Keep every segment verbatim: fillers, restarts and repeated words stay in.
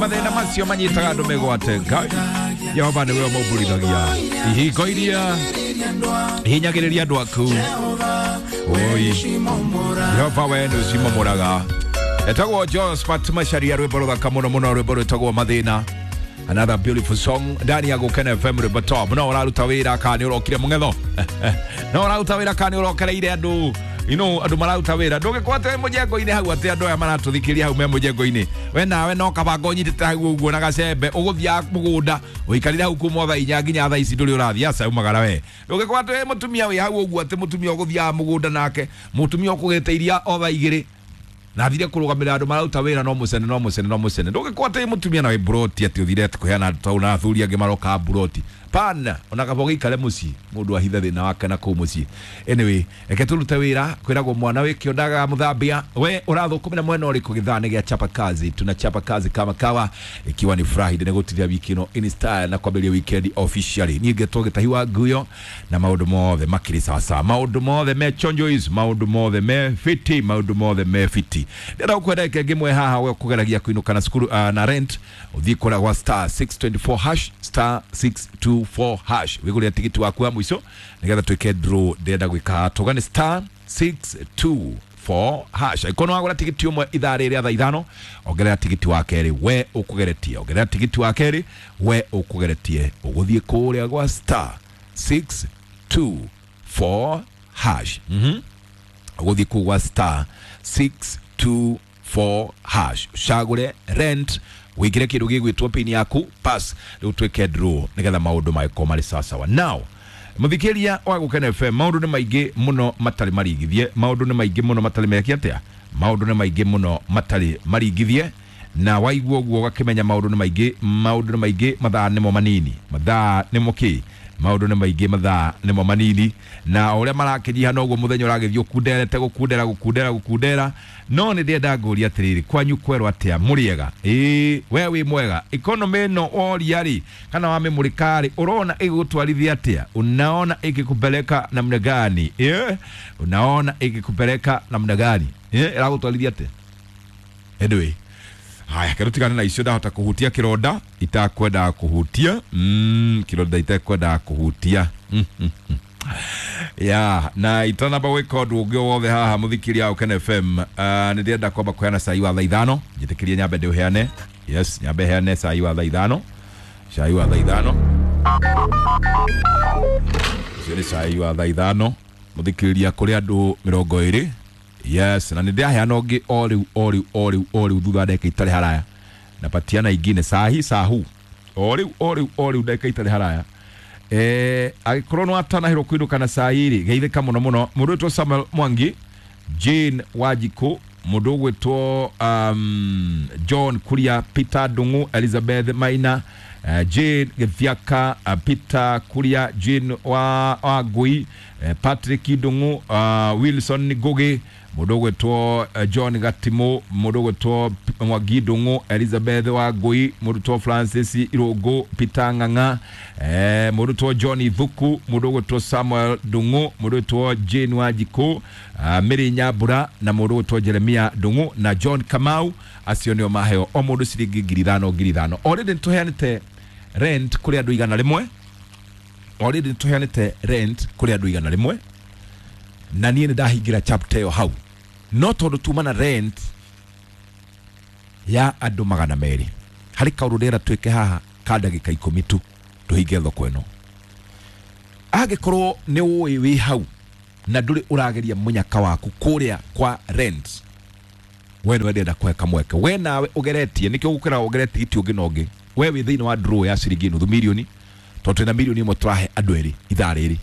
Mathĩna macio manyitaga andũ mĩgwate. Ngai Jehova nĩwe ũmaumbũrithagia ihingo iria hinyagĩrĩria andũ aku. Oi Jehova, we nĩ ũcimomoraga. Etagwo Josephat Macharia, rwĩmbo rũthaka mũno mũno, rwĩmbo rwĩtagwo Mathĩna. Another beautiful song ndani ya Gũkena F M, rwĩmbo top. No ũraruta wĩra kana nĩ ũrokire mũng'etho? No ũraruta wĩra kana nĩ ũrokereire andũ? You know, andũ mararuta wĩra, ndũgĩkorwo atĩ wĩ mũjengo-inĩ hau, atĩ andũ aya maratũthikĩria hau me mũjengo-inĩ, we nawe no kabanga ũnyitĩte hau ũguo na gacembe, ũgũthiaga mũgũnda ũikarire hau kuma thaa inya nginya thaa ici ndũrĩ ũrathiĩ. Aca umagara we. Ndũgĩkorwo atĩ wĩ mũtumia wĩ hau ũguo, atĩ mũtumia ũgũthiaga mũgũnda nake mũtumia ũkũgĩte iria o thaa igĩrĩ na thire kũrũgamĩrĩra andũ mararuta wĩra, no mũcene no mũcene no mũcene. Ndũgĩkorwo atĩ mũtumia na wĩ mburoti, atĩ ũthire atĩ kũheana tau na athuri angĩ maroka mburoti pana, ona kaba ũgĩikare mũciĩ mũndũ ahithe thĩna wake na kũu mũciĩ. Anyway, reke tũrute wĩra. Kwĩragwo mwana wĩ kĩondaga mũthambia. We ũrathũkũmĩra mwena ũrĩkũ? Gĩthaa nĩ gĩa chapa kazi, tunachapa kazi kama kawa, ikiwa ni Friday nĩ gũtiria wiki ĩno in style na kwambĩrĩria weekend officially. Niĩ ngetwo Gĩtahi wa Nguyo na maũndũ mothe makĩrĩ sawasawa, maũndũ mothe me chonjois, maũndũ mothe me fiti, maũndũ mothe me fiti. Ndĩrenda gũkwenda ĩke ngĩmwe haha, we ũkũgeragia kũinũka na cukuru uh, na rent, ũthiĩ kũrĩa gwa star six two four hash, star six two four hash, wĩgũrĩre tigiti waku wa mũico nĩgetha twĩke draw. Ndĩrenda gwĩka haha tũgane star six two four hash. Angĩkorwo nĩ wagũra tigiti ũmwe ithaa rĩrĩ thaa ithano, ongerera tigiti wa kerĩ we ũkũgeretie, ongerera tigiti wa kerĩ we ũkũgeretie, ũgũthiĩ kũrĩa gwa star six two four hash. Mhm, ũgũthiĩ kũu gwa star six two four hash, ũcagũre rent, wĩkĩre kĩndũ gĩgwĩtwo pin yaku, pass, rĩu twĩke draw nĩgetha maũndũ magĩkorwo marĩ sawasawa. Now mũthikĩria wa Gũkena F M, maũndũ nĩ maingĩ mũno matarĩ marigithie, maũndũ nĩ maingĩ mũno matarĩ meke atĩa, maũndũ nĩ maingĩ mũno matarĩ marigithie, na waigua ũguo ũgakĩmenya maũndũ nĩ maingĩ, maũndũ nĩ maingĩ, mathaa nĩmo manini, mathaa nĩmo kĩ, maũndũ nĩ maingĩ, mathaa nĩmo manini, na o ũrĩa marakĩnyiha noguo mũthenya ũragĩthiĩ ũkunderete, gũkundera gũkundera gũkundera. No nĩ ndĩrenda ngũria atĩrĩrĩ, kwanyu kwerwo atĩa? Mũrĩega? Ĩĩ, we wĩ mwega? Economy ĩno woria rĩ, kana wamĩmũrĩka rĩ, ũrona ĩgũgũtwarithia atĩa? Unaona ĩgĩkupeleka namna gani? Eh, unaona ĩgĩkupeleka namna gani? Eh, ĩragũtwarithia atĩa? Anyway, haya, kero tigane na icio, ndahota kũhutia kĩronda itakwendaga kũhutia, mm, kĩronda itakwendaga kũhutia. Mm, mm, mm. Ya na itanamba gwĩka ũndũ ũngĩ o wothe haha, mũthikĩria wa Gũkena F M, uh, nĩ ndĩrenda kwamba kũheana cai wa thaa ithano. Njĩtĩkĩrie nyambe ndĩũheane. Yes, nyambe heane cai wa thaa ithano, cai wa thaa ithano, ũcio nĩ cai wa thaa ithano, mũthikĩrĩria, kũrĩ andũ mĩrongo ĩrĩ. Yes, na nĩ ndĩraheana ũngĩ o rĩu o rĩu o rĩu o rĩu thutha wa ndagĩka itarĩ haraya, na patiana ingine sahi sahu o rĩu o rĩu o rĩu ndagĩka itarĩ haraya. Eh, angĩkorwo nĩ watanahĩrwo kũinũka na cai rĩ, geithĩka mũno mũno. Mũndũ wĩtwo Samuel Mwangi, Jane Wanjikũ, mũndũ ũgwĩtwo um, John Kuria, Peter Ndung'u, Elizabeth Maina, uh, Jane Gĩthiaka, uh, Peter Kuria, Jane wa, wa Ngui, uh, Patrick Ndung'u, uh, Wilson Ngugi, mũndũ ũgwĩtwo uh, John Gatimu, mũndũ ũgwĩtwo Mwangi Ndung'u, Elizabeth wa Ngui, mũndũ ũgwĩtwo Francis Irũngũ, Peter Ng'ang'a, eh, mũndũ ũgwĩtwo John Thuku, mũndũ ũgwĩtwo Samuel Ndung'u, mũndũ ũgwĩtwo Jane Wanjikũ, uh, Mary Nyambura, na mũndũ ũgwĩtwo Jeremia Ndung'u na John Kamau. Acio nĩo maheo o mũndũ ciringi ngiri ithano ngiri ithano. Already nĩtũheanĩte rent kũrĩ andũ igana rĩmwe, already nĩtũheanĩte rent kũrĩ andũ igana rĩmwe, na niĩ nĩ ndahingĩra chapter ĩyo hau. No tondũ tuma na rent ya andũ magana merĩ, harĩ kaũndũ ndĩrenda twĩke haha ka ndagĩka ikũmi tu tũhinge thoko ĩno. Angĩkorwo nĩ ũĩ wĩ hau na ndũrĩ ũrageria mũnyaka waku kũrĩa kwa rent, we nĩwe ndĩrenda kũhe kamweke, we nawe ũgeretie, nĩkĩo gũkĩra ũgeretie tigiti ũngĩ na ũngĩ. We wĩ thĩinĩ wa draw ya ciringi nuthu milioni, tondũ twĩna milioni ĩmwe tũrahe andũ erĩ ithaa rĩrĩ.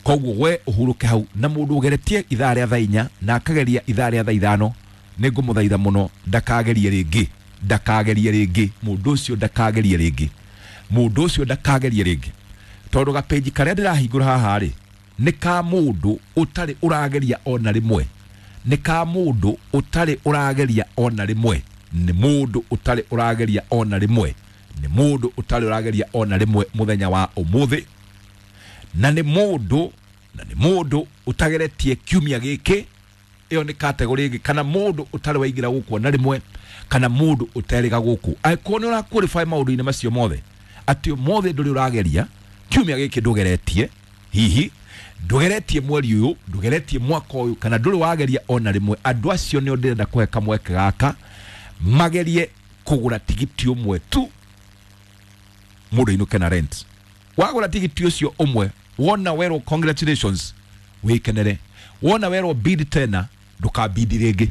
Koguo we ũhurũke hau, na mũndũ ũgeretie ithaa rĩa thaa inya na akageria ithaa rĩa thaa ithano, nĩ ngũmũthaitha mũno ndakagerie rĩngĩ, ndakagerie rĩngĩ, mũndũ ũcio ndakagerie rĩngĩ, mũndũ ũcio ndakagerie rĩngĩ, tondũ gapeji karĩa ndĩrahingũra haha rĩ nĩ ka mũndũ ũtarĩ ũrageria ona rĩmwe, nĩ ka mũndũ ũtarĩ ũrageria ona rĩmwe, nĩ mũndũ ũtarĩ ũrageria ona rĩmwe, nĩ mũndũ ũtarĩ ũrageria ona rĩmwe mũthenya wa ũmũthĩ, na nĩ mũndũ, na nĩ mũndũ ũtageretie kiumia gĩkĩ. Ĩyo nĩ category ĩngĩ, kana mũndũ ũtarĩ waingĩra gũkũ ona rĩmwe, Kana mũndũ ũterĩga gũkũ. Angĩkorwo nĩ ũra qualify maũndũ-inĩ macio mothe, atĩ ũmũthĩ ndũrĩ ũrageria, kiumia gĩkĩ ndũgeretie, hihi ndũgeretie mweri ũyũ, ndũgeretie mwaka ũyũ, kana ndũrĩ wageria ona rĩmwe, andũ acio nĩo ndĩrenda kũhe kamweke gaka magerie kũgũra tigiti ũmwe tu, mũndũ ainũke na rent. Wagũra tigiti ũcio ũmwe, wona werwo congratulations, wĩkenere. Wona werwo bid tena, ndũkabidi rĩngĩ,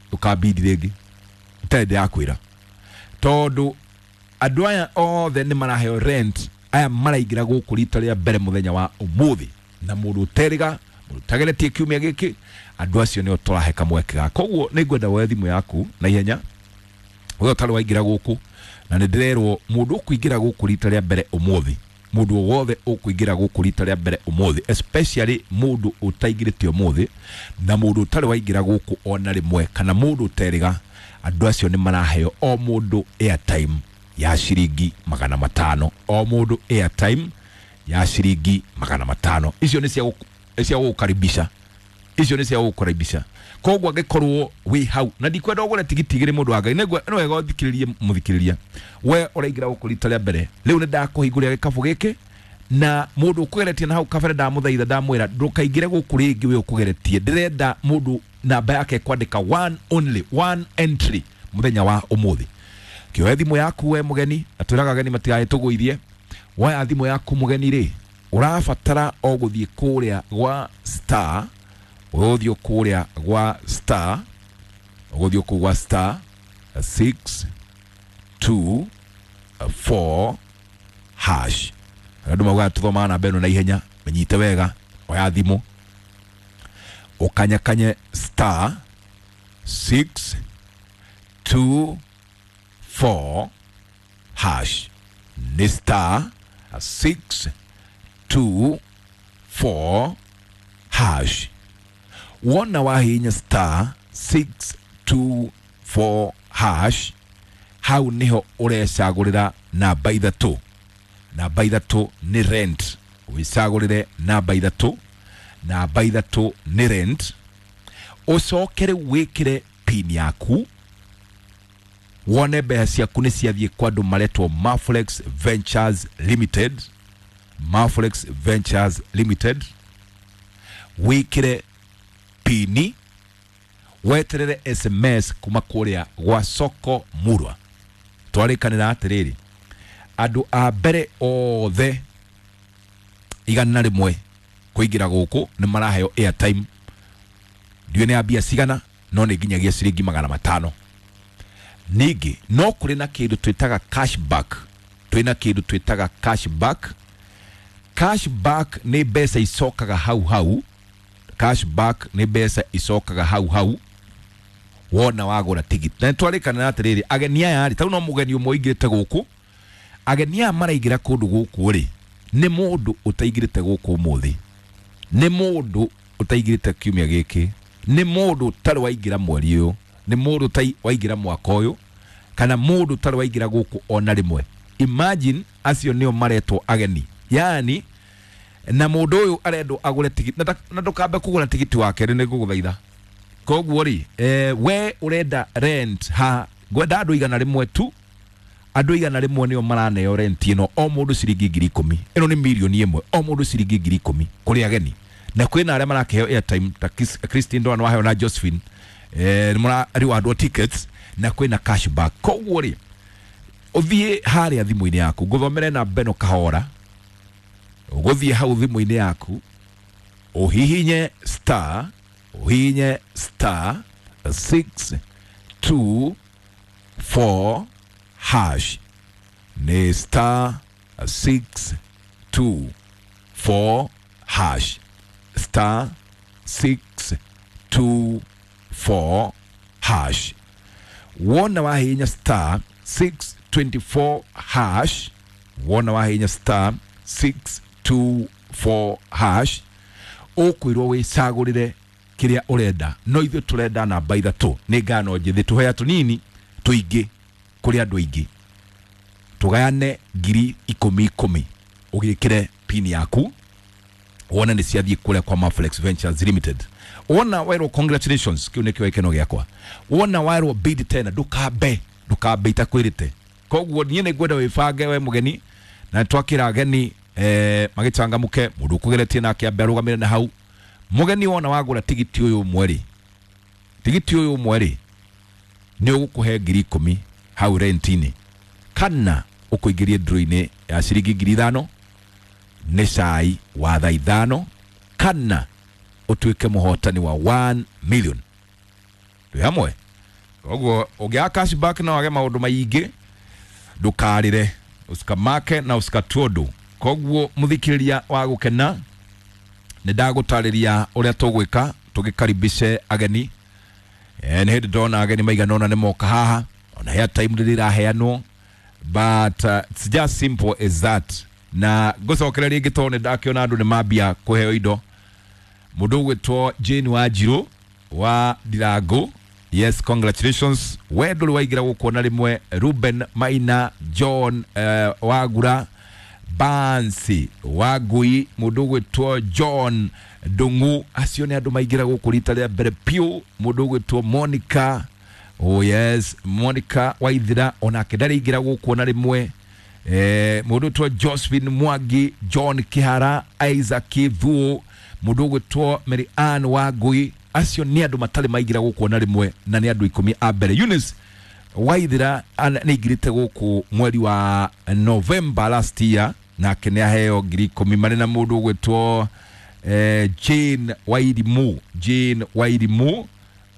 ndũkabidi rĩngĩ, itarĩ ndĩrakwĩra, tondũ andũ aya othe nĩ maraheo rent. Aya maraingĩra gũkũ rita rĩa mbere mũthenya wa ũmũthĩ, na mũndũ ũterĩga, mũndũ ũtageretie kiumia gĩkĩ, andũ acio nĩo tũrahe kamweke gaka. Koguo nĩ ngwenda woe thimũ yaku na ihenya, we ũtarĩ waingĩra gũkũ, na nĩ ndĩrerwo mũndũ ũkũingĩra gũkũ rita rĩa mbere ũmũthĩ, mũndũ o wothe ũkũingĩra gũkũ rita rĩa mbere ũmũthĩ, especially mũndũ ũtaingĩrĩte ũmũthĩ na mũndũ ũtarĩ waingĩra gũkũ ona rĩmwe, kana mũndũ ũterĩga, andũ acio nĩ maraheo o mũndũ airtime ya ciringi magana matano, o mũndũ airtime ya ciringi magana matano. Icio nĩ cia gũkũ- cia gũgũkaribisha, icio nĩ cia gũgũkaribisha. Koguo angĩkorwo wĩ hau, na ndikwenda ũgũre tigiti igĩrĩ, mũndũ wa Ngai, nĩ nĩ wega ũthikĩrĩrie mũthikĩrĩria, we ũraingĩra gũkũ rita rĩa mbere rĩu, nĩ ndakũhingũrĩra gĩkabũ gĩkĩ, na mũndũ ũkũgeretie na hau kabere ndamũthaitha, ndamwĩra ndũkaingĩre gũkũ rĩngĩ wĩ ũkũgeretie. Ndĩrenda mũndũ namba yake kwandĩka one only, one entry mũthenya wa ũmũthĩ. Kĩoe thimũ yaku we mũgeni, na twĩraga ageni matigagĩtũgũithie. Woya thimũ yaku mũgeni rĩ, ũrabatara o gũthiĩ kũrĩa gwa star, ũgũthiĩ kũrĩa gwa star, ũgũthiĩ kũu gwa star six two four hash. Andũ maugaga tũthomaga namba ĩno na ihenya, menyite wega. Oya thimũ ũkanyakanye star six two four hash, nĩ star six two four hash. Wona wahihinya star six two four hash, hau niho ũrecagũrĩra namba ithatũ. Namba ithatũ nĩ rent, wĩcagũrĩre namba ithatũ, namba ithatũ nĩ rent. Ũcoke rĩu wĩkĩre pin yaku, wone mbeca ciaku nĩ ciathiĩ kwa andũ maretwo Maflex Ventures Limited, Maflex Ventures Limited. Wĩkĩre pini, weterere S M S kuma kũrĩa gwa Soko Murwa. Twarĩkanĩra atĩrĩrĩ, andũ a mbere othe igana rĩmwe kũingĩra gũkũ nĩ maraheo airtime, ndiũĩ nĩ ya mbia cigana, no nĩ nginyagia ciringi magana matano. Ningĩ no kũrĩ na kĩndũ twĩtaga cashback, twĩna kĩndũ twĩtaga cashback. Cashback nĩ mbeca icokaga hau hau, cashback nĩ mbeca icokaga hau hau wona wagũra tigiti. Na nĩtwarĩkanĩra atĩrĩrĩ, ageni aya rĩ, tau no mũgeni ũmwe ũingĩrĩte gũkũ, ageni aya maraingĩra kũndũ gũkũ rĩ, nĩ mũndũ ũtaingĩrĩte gũkũ ũmũthĩ, nĩ mũndũ ũtaingĩrĩte kiumia gĩkĩ, nĩ mũndũ ũtarĩ waingĩra mweri ũyũ, nĩ mũndũ ũtarĩ waingĩra mwaka ũyũ, kana mũndũ ũtarĩ waingĩra gũkũ ona rĩmwe. Imagine, acio nĩo maretwo ageni. Yani na mũndũ ũyũ arendwo agũre tigiti, na nda- na ndũkambe kũgũra tigiti wake rĩ, nĩ ngũgũthaitha. Koguo rĩ, eh, we ũrenda rent ha, ngwenda andũ igana rĩmwe tu, andũ igana rĩmwe nĩo maraneo rent ĩno, o mũndũ ciringi ngiri ikũmi. Ĩno nĩ mirioni ĩmwe, o mũndũ ciringi ngiri ikũmi kũrĩ ageni. Na kwĩna arĩa marakĩheo airtime ta Chris- Christine Ndwana waheo na Josephine, eh, nĩ mũra rewardwo tickets, na kwĩna cashback. Koguo rĩ, ũthiĩ harĩa thimũ-inĩ yaku, ngũthomere namba ĩno kahora. Ũgũthiĩ hau thimũ-inĩ yaku, ũhihinye star, ũhihinye star six two four hash, nĩ star six two four hash, star six two four hash. Wona wahihinya star six twenty-four hash, wona wahihinya star six two four hash, ũkwĩrwo wĩcagũrĩre kĩrĩa ũrenda, no ithuĩ tũrenda namba ithatũ. Nĩ ngano njĩthĩ, tũhea tũnini tũingĩ kũrĩ andũ aingĩ, tũgayane ngiri ikũmi ikũmi. Ũgĩkĩre pin yaku, wone nĩ ciathiĩ kũrĩa kwa Maflex Ventures Limited. Wona werwo congratulations kiu nikio gikeno giakwa. Wona werwo bid tena ndukambe ndukambe itakwirite. Koguo nie ningwenda wibange we mugeni na twakira ageni eh magichangamuke mundu ukugeretie nake ambe arugamire na hau. Mugeni wona wagura tigiti uyu mweri tigiti uyu mweri ni ugukuhe ngiri ikumi hau rentini kana ukuingirie draw-ini ya ciringi ngiri ithano ni cai wa thaa ithano kana utuike muhotani wa one million. Twi hamwe. Koguo ungiaga cashback na wage maundu maingi ndukarire usikamake na usikatuondu. Koguo muthikiriria wa gukena ni ndagutariria uria tugwika tugikaribishe ageni. Eh ni hindi ndona ageni maigana ona ni moka haha ona hea time riraheanwo, but uh, it's just simple as that. Na ngucokera ringi tondu ni ndakiona andu ni mambia kuheo indo. Mundu ugwitwo Jane Wanjiru wa Ndirangu, yes, congratulations. We nduri waingira guku ona rimwe. Ruben Maina, John uh, Wagura, Bansi Wangui, mundu ugwitwo John Ndungu, acio ni andu maingira guku rita ria mbere piu. Mundu ugwitwo Monica, oh yes, Monica Waithira onake ndari ingira guku ona rimwe. Eh mundu ugwitwo Josephine Mwangi, John Kihara, Isaac Thuo, mundu ugwitwo Mary Ann Wangui, acio ni andu matari maingira guku ona rimwe na ni andu ikumi a mbere. Eunice Waithira nĩ aingĩrĩte gũkũ mweri wa November last year nake nĩ aheo ngiri ikũmi marĩ na mũndũ ũgwĩtwo eh, Jane Wairimu, Jane Wairimu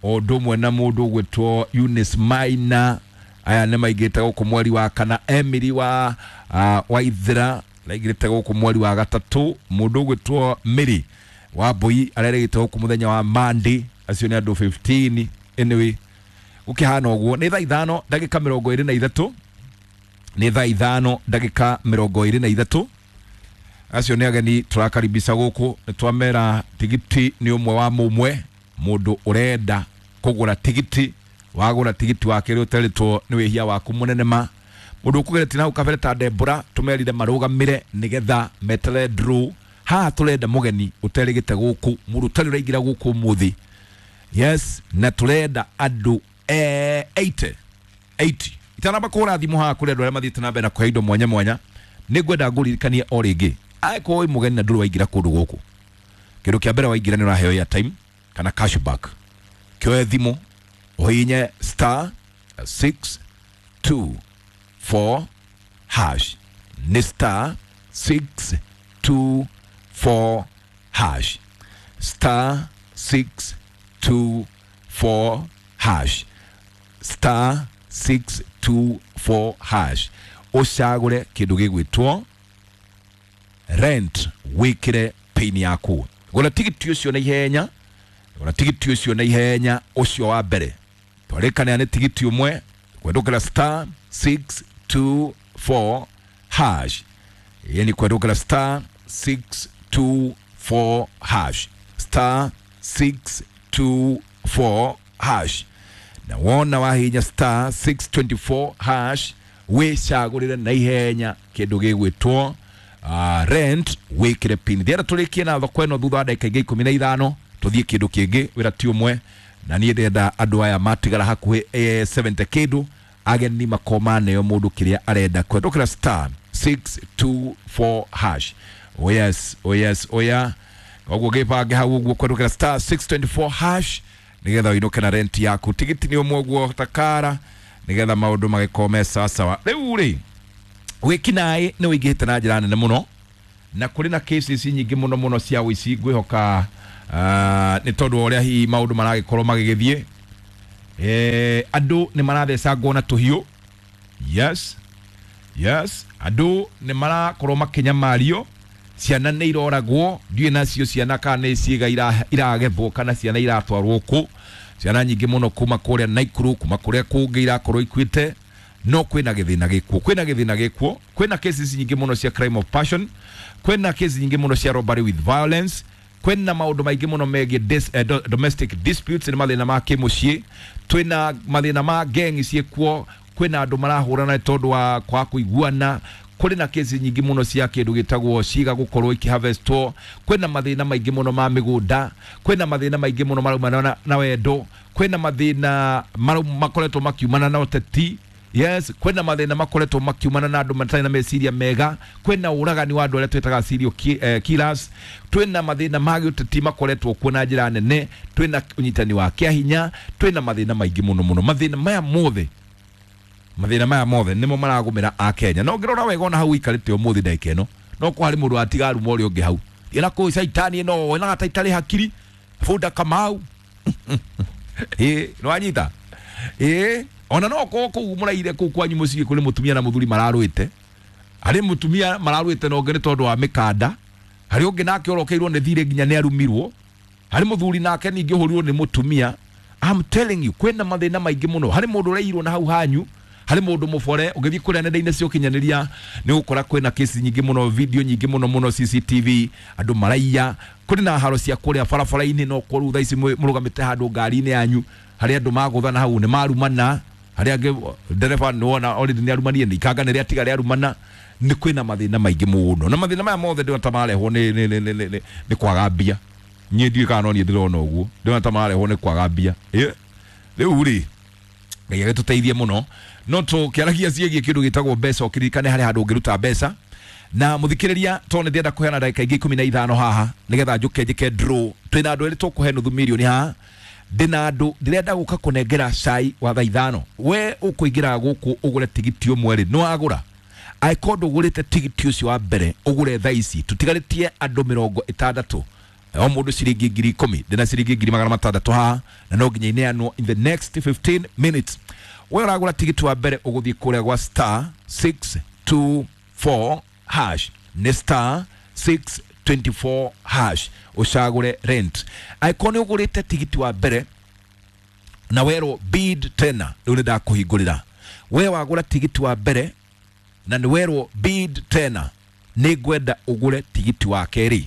o ũndũ ũmwe na mũndũ ũgwĩtwo Eunice Maina. Aya nĩ maingĩrĩte gũkũ mweri wa kana. Emily wa uh, Waithira aingĩrĩte gũkũ mweri wa gatatũ. Mũndũ ũgwĩtwo Mary wa Mbui arerĩgĩte gũkũ mũthenya wa Monday. Acio nĩ andũ fifteen. Anyway, gukihana uguo ni thaa ithano ndagika mirongo iri na ithatu, ni thaa ithano ndagika mirongo iri na ithatu. Acio ni ageni turakaribisha guku. Ni twamera tigiti ni umwe wa mumwe mundu urenda kugura tigiti wagura tigiti wake ri uteritwo ni wihia waku munene ma. Mundu ukugerete na ukabere ta Debora tumerire marugamire nigetha metere draw. Haha turenda mugeni uterigite guku, mundu utari uraingira guku muthi. Yes, na turenda andu eh eighty eighty itanamba kura thimu haha kuri andu aria mathiite na mbere na kuhe indo mwanya mwanya. Ni ngwenda nguririkanie o ringi, angĩkorwo wĩ mũgeni na ndũrĩ waingĩra kũndũ gũkũ, kĩndũ kĩa mbere waingĩra nĩ ũraheo airtime kana cashback. Kĩoe thimũ ũhihinye star six two four hash, nĩ star six two four hash, star six two four hash, star six two four hash. Ucagure kindu gigwitwo rent, wikire pin yaku. Gura tigiti ucio na ihenya, gura tigiti ucio na ihenya ucio wa mbere. Twarikana ni tigiti umwe kwendukira star six two four hash. Yani kwendukira star six two four hash, star six two four hash. Na wona wahinya star six twenty four hash wicagurire na ihenya kindu gigwitwo uh, rent, wikire pin. Thiara turikie na thoko ino thutha wa ndagika ingĩ ikũmi na ithano tuthie kindu kingi wira ti umwe. Na niĩ ndĩrenda andũ aya matigara hakuhĩ eh, seventy kindu ageni makoma neo mundu kiria arenda kwendukira star six two four hash. Oh yes, oh yes, oh yeah. Koguo gibange hau uguo kwendukira star six twenty four hash nigetha uinuke na rent yaku. Tigiti ni umwe uguo takara nigetha maundu magikome sawa. Riu ri wikinaĩ ni wĩingĩhĩte na njĩra nene mũno na kũrĩ na cases nyingĩ mũno mũno cia ũici. Ngwĩhoka uh, nĩ tondũ wa ũrĩa hihi maũndũ maragĩkorwo magĩgĩthiĩ. Eh andũ nĩ marathecangwo na tũhiũ. Yes, yes, andũ nĩ marakorwo makĩnyamario, ciana nĩ iroragwo, ndiũĩ nacio ciana kana nĩ ciĩga iragethwo kana ciana iratwarwo kũ. Ciana nyingĩ mũno kuma kũrĩa Naikuru, kuma kũrĩa kũngĩ irakorwo ikuĩte. No kwĩna gĩthĩna gĩkuo, kwĩna gĩthĩna gĩkuo, kwĩna cases nyingĩ mũno cia crime of passion, kwĩna cases nyingĩ mũno cia robbery with violence, kwĩna maũndũ maingĩ mũno megiĩ dis, eh, do, domestic disputes, nĩ mathĩna ma kĩmũciĩ, twĩna mathĩna ma gang ciĩkuo, kwĩna andũ marahũrana nĩ tondũ wa kwaga kũiguana, Kũrĩ na kesi nyingĩ mũno cia kĩndũ gĩtagwo ciga gũkorwo ikiharvestwo. Kwĩna mathĩna maingĩ mũno ma mĩgũnda. Kwĩna mathĩna maingĩ mũno maraumana na, na wendo. Kwĩna mathĩna makoretwo makiumana na ũteti. Yes, kwĩna mathĩna makoretwo makiumana na andũ matarĩ na meciria mega. Kwĩna ũragani wa andũ arĩa twĩtaga serial ki, eh, killers. Twĩna mathĩna ma gĩũteti makoretwo kuo na njĩra nene. Twĩna ũnyitani wa kĩahinya. Twĩna mathĩna maingĩ mũno mũno. Mathĩna maya mothe, mathĩna maya mothe nĩmo maragũmĩra a Kenya. No ngĩrora wega ona hau ikarĩte ũmũthĩ ndagĩka ĩno, no kwa harĩ mũndũ watiga aruma ũrĩa ũngĩ hau. Ĩna kũu caitani ĩno ĩna ta itarĩ hakiri bunda Kamau. Ĩ nĩwanyita? Ĩ ona no korwo kũu mũraire kũu kwanyu mũciĩ kũrĩ mũtumia na mũthuri mararũĩte. Harĩ mũtumia mararũĩte na ũngĩ nĩ tondũ wa mĩkanda. Harĩ ũngĩ nake orokeirwo nĩ thirĩ nginya nĩ arumirwo. Harĩ mũthuri nake ningĩ ũhũrirwo nĩ mũtumia. I'm telling you, kwĩna mathĩna maingĩ mũno. Harĩ mũndũ ũrairwo na hau hanyu. Harĩ mũndũ mũbore ũngĩthiĩ kũrĩa nenda-inĩ cia ũkinyanĩria nĩ ũgũkora kwĩna kesi nyingĩ mũno, video nyingĩ mũno mũno, C C T V, andũ maraiya. Kũrĩ na haro cia kũrĩa barabara-inĩ, no korwo thaa ici mũrũgamĩte handũ ngari-inĩ yanyu, harĩ andũ magũthana hau nĩ marumana, harĩ angĩ ndereba nĩ wona already nĩ arumanie, nĩ ikanga nĩ rĩatiga rĩarumana. Nĩ kwĩna mathĩna maingĩ mũno, na mathĩna maya mothe ndĩrona ta marehwo nĩ, nĩ, nĩ, nĩ, nĩ, nĩ kwaga mbia. Niĩ ndiũĩ kana no niĩ ndĩrona ũguo, ndĩrona ta marehwo nĩ kwaga mbia. Ĩ rĩu rĩ, Ngai agĩtũteithie mũno. No tũkĩaragia ciĩgiĩ kĩndũ gĩtagwo mbeca, ũkĩririkane harĩ handũ ũngĩruta mbeca. Na mũthikĩrĩria, tondũ nĩ ndĩrenda kũheana ndagĩka ingĩ ikũmi na ithano haha nĩgetha njũke njĩke draw. Twĩna andũ erĩ tũkũhe nuthu mirioni haha. Ndĩna andũ ndĩrenda gũka kũnengera cai wa thaa ithano. We ũkũingĩra gũkũ ũgũre tigiti ũmwe rĩ, nĩ wagũra. Angĩkorwo ndũgũrĩte tigiti ũcio wa mbere, ũgũre thaa ici. Tũtigarĩtie andũ mĩrongo ĩtandatũ. O mũndũ ciringi ngiri ikũmi. Ndĩna ciringi ngiri magana matandatũ haha, na no nginya ineanwo in the next fifteen minutes. We ũragũra tigiti wa mbere ũgũthiĩ kũrĩa gwa star six two four hash. Nĩ star six twenty-four hash. Ũcagũre rent. Angĩkorwo nĩ ũgũrĩte tigiti wa mbere na werwo bid tena, rĩu nĩ ndakũhingũrĩra. We wagũra tigiti wa mbere na nĩ werwo bid tena, nĩ ngwenda ũgũre tigiti wa kerĩ.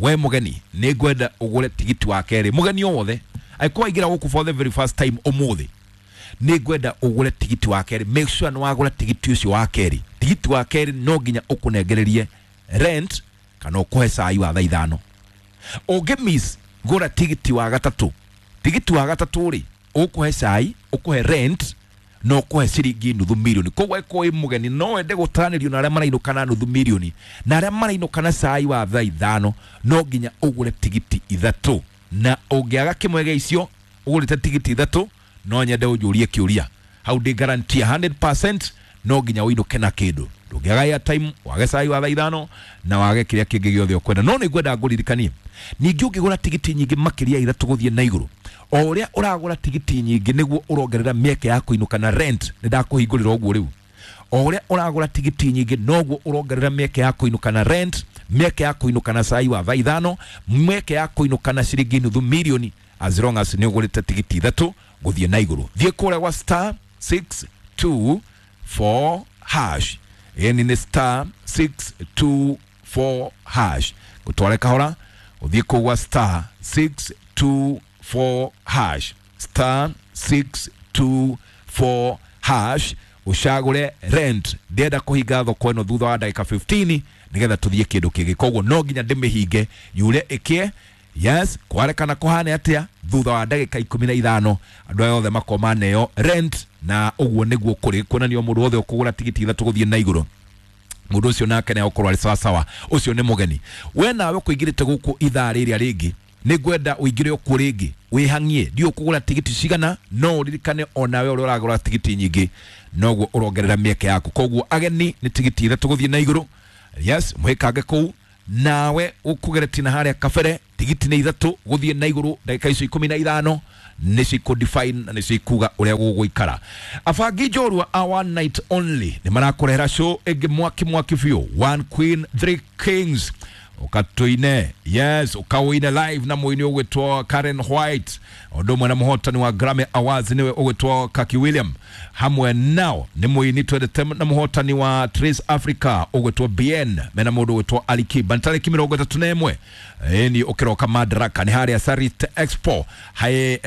We mũgeni, nĩ ngwenda ũgũre tigiti wa kerĩ. Mũgeni o wothe angĩkorwo waingĩra gũkũ for the very first time ũmũthĩ, nĩ ngwenda ũgũre tigiti wa kerĩ. Make sure nĩ wagũra tigiti ũcio wa kerĩ. Tigiti wa kerĩ no nginya ũkũnengererie rent kana ũkũhe cai wa thaa ithano. Ũngĩ miss, gũra tigiti wa gatatũ. Tigiti wa gatatũ rĩ, ũkũhe cai, ũkũhe rent, na ũkũhe ciringi nuthu mirioni. Koguo angĩkorwo wĩ mũgeni no wende gũtaranĩrio na arĩa marainũka na nuthu mirioni na arĩa marainũka na cai wa thaa ithano, no nginya ũgũre tigiti ithatũ. Na ũngĩaga kĩmwe gĩa icio, ũgũrĩte tigiti ithatũ, no nyende ũnjũrie kĩũria. Hau ndĩ guarantee hundred percent no nginya ũinũke na kĩndũ. Ndũngĩaga airtime, wage cai wa thaa ithano, na wage kĩrĩa kĩngĩ gĩothe ũkwenda. No nĩ ngwenda ngũririkanie, ningĩ ũngĩgũra tigiti nyingĩ makĩria ya ithatũ gũthiĩ na igũrũ, o ũrĩa ũragũra tigiti nyingĩ nĩguo ũrongerera mĩeke ya kũinũka na rent. Nĩ ndakũhingũrĩra ũguo rĩu. O ũrĩa ũragũra tigiti nyingĩ noguo ũrongerera mĩeke ya kũinũka na rent, mĩeke ya kũinũka na cai wa thaa ithano, mĩeke ya kũinũka na ciringi nuthu mirioni, as long as nĩ ũgũrĩte tigiti ithatũ gũthiĩ na igũrũ. Thiĩ kũrĩa gwa star six two four hash. Ĩni nĩ star six two four hash. Gũtware kahora, ũthiĩ kũu gwa star six two four hash. Star six two four hash. Ũcagũre rent. Ndĩrenda kũhinga thoko ĩno thutha wa ndagĩka fifteen nĩgetha tũthiĩ kĩndũ kĩngĩ. Koguo no nginya ndĩmĩhinge yure ĩkĩe. Yes, kware kana kũhane atĩa thutha wa ndagĩka ikũmi na ithano andũ aya othe makoma neo rent, na ũguo nĩguo kũrĩ kuonania mũndũ wothe ũkũgũra tigiti ithatũ gũthiĩ na igũrũ, mũndũ ũcio nake nĩ egũkorwo arĩ sawasawa. Ũcio nĩ mũgeni. We nawe ũkũingĩrĩte gũkũ ithaa rĩrĩa rĩngĩ, nĩ ngwenda ũingĩre okuo rĩngĩ wĩhang'ie. Ndiũĩ ũkũgũra tigiti cigana, no ũririkane onawe ũrĩa ũragũra tigiti nyingĩ noguo ũrongerera mĩeke yaku. Koguo ageni nĩ tigiti ithatũ gũthiĩ na igũrũ. Yes, mwĩkange kũu. Nawe ũkũgeretie na harĩa kabere, tigiti nĩ ithatũ gũthiĩ na igũrũ ndagĩka icio ikũmi na ithano nĩcio ikũ define na nĩcio ikuga ũrĩa gũgũikara. Abangi njorua a one night only nĩ marakũrehera show ĩngĩ mwaki mwaki biũ, One Queen Three Kings. Ũkatũine, yes, ũkaũine live na mũini ũgwĩtwo Karen White, ũndũ ũmwe na mũhotani wa Grammy Awards nĩwe ũgwĩtwo Kaki William. Hamwe nao nĩ mũini twendete na mũhotani wa Trace Africa ũgwĩtwo Bien, mena mũndũ ũgwĩtwo Ali Kiba. Nĩ tarĩki mĩrongo ĩtatũ na ĩmwe, ĩni ũkĩroka Madaraka, nĩ harĩa Sarit Expo hae.